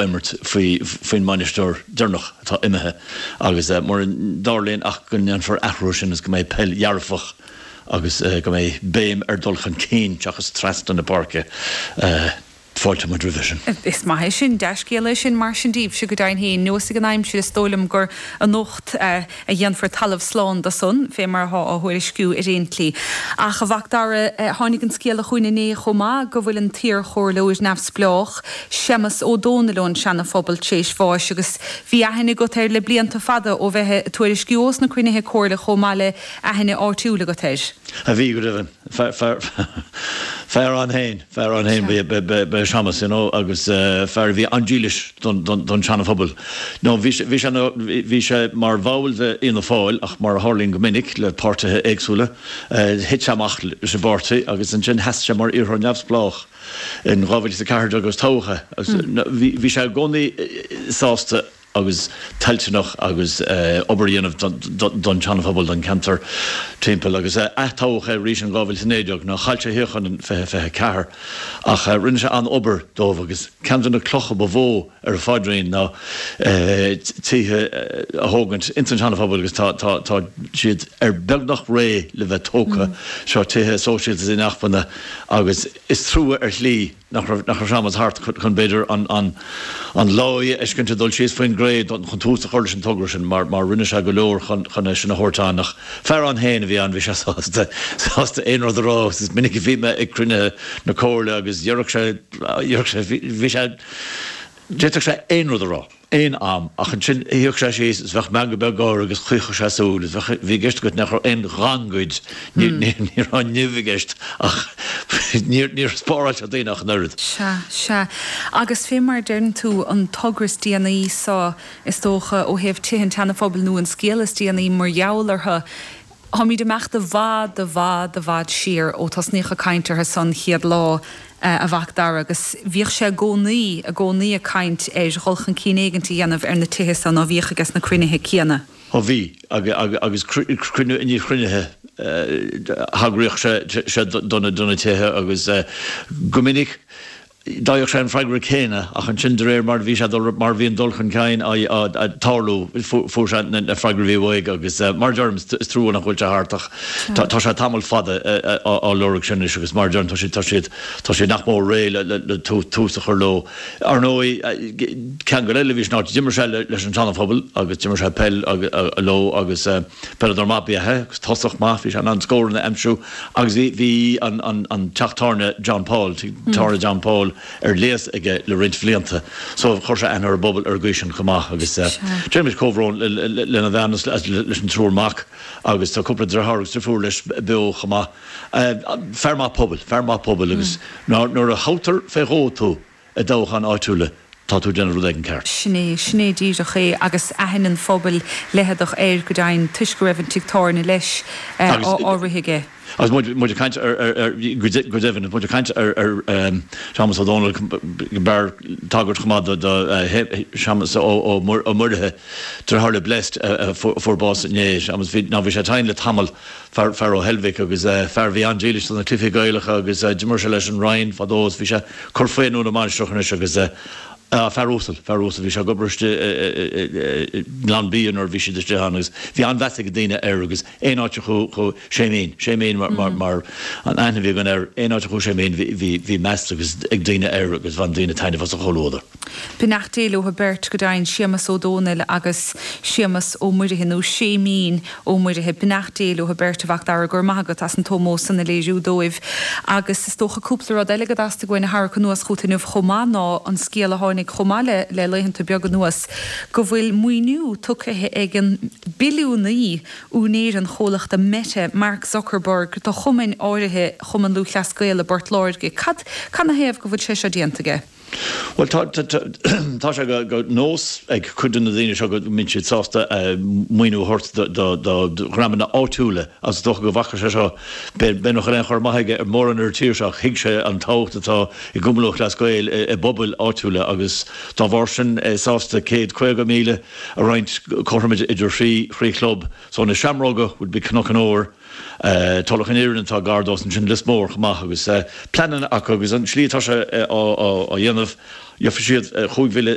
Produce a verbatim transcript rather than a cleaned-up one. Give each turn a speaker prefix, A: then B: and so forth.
A: Imirt faoi faoin mbainisteoir deireanach atá imithe agus mura dtarlaíonn ach go ndéanfar athrú sin is go mbeidh peil dhearfach agus go mbeidh béim ar dul chun cinn seachas trasna na páirce. Fáilte muid roimhe sin.
B: Is maith é sin, dea-scéal é sin mar sin daoibhse go deimhin féin. Nós ag an aimsir is dóigh liom gur anocht a dhéanfar talamh slán de san, fé mar atá á thuairisciú ar aon tslí. Ach a Mhac Dara, tháinig an scéala chugainn inné chomh maith go bhfuil an t-iarchomhairleoir neamhspleách, Séamus Ó Dónaill ón Seana-Phobal tar éis bháis agus bhí aithne agat air le blianta fada ó bheith ag tuairisciú ós na cruinnithe comhairle chomh maith le aithne áitiúil agat air.
A: A bhí go deimhin. Fear ann féin, fear ann féin ba ea Séamus, you know, agus fear a bhí an-dílis don don Seana-Phobal. No bhí bhí sé bhí sé mar bhall de Fhianna Fáil ach mar a tharlaíonn go minic le páirtithe éagsúla, thit sé amach leis an bpáirtí agus ansin sheas sé mar iarrthóir neamhspleách in dhá mhíle is a ceathair déag agus toghadh é. Agus bhí sé i gcónaí sásta agus toilteanach agus obair a dhéanamh don tSeana-Phobal, don cheantar timpeall agus atoghadh é arís in dhá mhíle is a naoi déag nó chaill sé shuíochán in fiche fiche ceathair ach rinne sé an-obair dóibh agus ceann de na clocha ba mhó ar a phaidrín ná tithe a thógaint ins an tSeana-Phobal agus tá tá tá siad ar beagnach réidh le bheith tógtha, seo tithe sóisialta is inacmhainne agus is trua ar shlí nach raibh nach raibh Séamus thart chun b'fhéidir an an an láí a fheiscint ag dul síos faoin gcré chun tús a chur leis an togra sin mar mar rinne sé go leor chun chun é sin a thabhairt ann ach fear ann féin a bhí ann bhí sé sásta sásta aon rud a rá agus is minic a bhí mé ag cruinnithe na comhairle agus dhéarfadh sé dhéarfadh sé bhí sé d'fhéadfadh sé aon rud a rá. Aon am, ach ansin shuíodh sé síos is bheadh meangadh beag gáire agus chaochadh sé súil is bheadh, bhí i gceist agat nach raibh aon ghangaid, ní, ní, ní raibh nimh i gceist ach níor, níor spáráil sé daoine ach an oiread.
B: Sea, sea. Agus fé mar a deireann tú, an togra is déanaí so, is dócha, ó thaobh Tithe an tSeana-Phobail nó an scéal is déanaí mar gheall orthu, Táimid ag imeacht i bhfad, i bhfad, i bhfad siar ó tosnaíodh ag caint orthu san chéad lá, a Mhac Dara, agus bhíodh sé i gcónaí, i gcónaí ag caint ar dhul chun cinn éigint a dhéanamh ar na tithe san, ná bhíodh aige sna cruinnithe céanna?
A: Ó bhí, agus cruinniú i ndiaidh chruinnithe thagraíodh sé do na tithe agus go minic, D'fhaigheadh sé an freagra céanna, ach ansin de réir mar a bhí sé dul, mar a bhí an dul chun cinn ag tarlú, fuair sé na freagraí a bhí uaidh agus mar a deirim, is trua nach bhfuil sé thart ach tá sé tamall fada á lorg sin anois agus mar a deirim, tá siad, tá siad, tá siad nach mór réidh le tús a chur leo. Ar ndóigh, ceangal eile a bhí san áit, d'imir sé leis an Seana-Phobal agus d'imir sé peil leo agus peileadóir maith ba ea é agus tosach maith, bhí sé in ann scóranna a aimsiú agus bhí, bhí an, an, an teach tábhairne John Paul, tigh tábhairne John Paul, ar léas aige le roinnt bhlianta so chuir sé aithne ar an bpobal ar an gcaoi sin chomh maith agus déanaimid comhbhrón lena bhean is leis an triúr mac agus tá cúpla deartháir agus deirfiúr leis beo chomh maith. Fear maith pobail, fear maith pobail agus nuair a thoghtar fé dhó tú i dtoghcháin áitiúla tá tú ag déanamh rud éigin ceart.
B: Sin é, sin é díreach é agus aithne an phobail leitheadach air go deimhin toisc go raibh an tigh tábhairne leis á rith aige.
A: Agus muid ag caint ar, go deimhin, muid ag caint ar Shéamus Ó Dónaill, b'fhearr tagairt chomh maith do Shéamus Ó Muirithe, deartháir le Blessed a fuair bás inné. Séamus, bhí, ná bhí sé tinn le tamall, fear ó Heilbhic agus fear a bhí an-dílis do na cluichí Gaelacha agus d'imir sé leis an Rinn fadó agus bhí sé ag cur faoi i nDún na Mainistreach anois agus fear uasal, fear uasal, bhí sé ag obair istigh i nGleann Bia nuair a bhí siad istigh ann agus bhí an-mheas ag daoine air agus aon áit a chuaigh Séimín, Séimín mar an aithne a bhí againn air, aon áit a chuaigh Séimín bhí meas agus ag daoine air agus bhain daoine taitneamh as a chomhluadar.
B: Beannacht Dé leo beirt go deimhin, Séamus Ó Dónaill agus Séamus Ó Muirithe, nó Séimín Ó Muirithe. Beannacht Dé leo beirt, a Mhac Dara, go raibh maith agat as an t-ómós san a léiriú dóibh. Agus is dócha cúpla rud eile go dteastaigh uainn a tharrac anuas chugat inniu chomh maith ná an scéal a tháinig chomh maith le le laethanta beaga anuas go bhfuil maoiniú tugtha ag an billiúnaí, úinéir an chomhlachta Meta, Mark Zuckerberg, do chumainn áirithe Chumann Lúthchleas Gael i bPort Láirge. Cad canathaobh go bhfuil sé seo déanta aige?
A: Bhuel, tá, tá sé de nós ag cuid de na daoine seo go mbíonn siad sásta maoiniú a thabhairt do, do dhreamanna áitiúla agus is dócha go bhfaca sé seo, b'fhéidir nach bhfuil aon chur amach aige ar mórán ar an tír seo ach thuig sé an tábhacht atá i gCumann Lúthchleas Gael i bpobail áitiúla agus dá bharr sin é sásta céad caoga míle a roinnt cothrom idir thrí, thrí chlub. So na Seamróga would be Cnoc an Óir, Tulach an Iarainn atá gar dó, ansin Lios Mór chomh maith agus pleananna acu agus an tslí atá sé á dhéanamh, Gheobhaidh siad chúig mhíle